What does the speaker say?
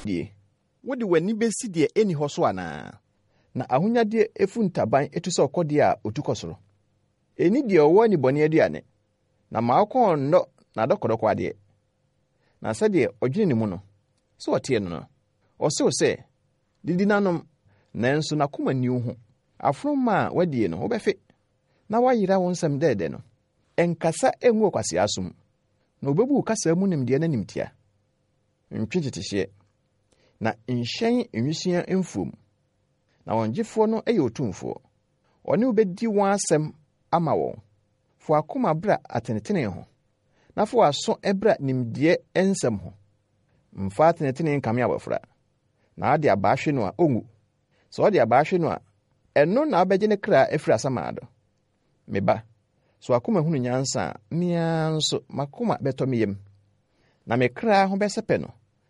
Die. Wode w'ani besi deɛ enni hɔ so anaa? Na ahonyadeɛ efu ntaban etu sɛ ɔkɔdeɛ a otu kɔ soro. Enni deɛ ɔwɔ anibɔne aduane, na ma wo kɔn nnɔ n'adɔkɔdɔkɔ adeɛ. Na sɛdeɛ ɔdwene ne mu no, sɛ ɔteɛ no no, ɔse wo sɛ, Didi na nom, nanso n'akoma nni wo ho. Aforoma a woadie no, wobɛfe, na woayera wo nsɛm dɛɛdɛ no. Nkasa ngu ɔkwasea asom, na obebu wo kasa mu nimdeɛ no animtia. Ntwe ntetehyeɛ, na nhyɛn nwisiaa mfuom, na wɔn gyefoɔ no yɛ otumfoɔ. Ɔne wo bɛdi wɔn asɛm ama wɔn. Fa w'akoma bra atenetene ho, na fa w'aso bra nimdeɛ nsɛm ho. Mfa atenetene nkame abɔfra, na wode abaa hwe no a, ɔnwu. Sɛ wode abaa hwe no a, ɛno na wobɛgye ne kra afiri asamando. Me ba, sɛ w'akoma hunu nyansa a, me ara nso m'akoma bɛtɔ me yam, na me kra ho bɛsɛpɛ no.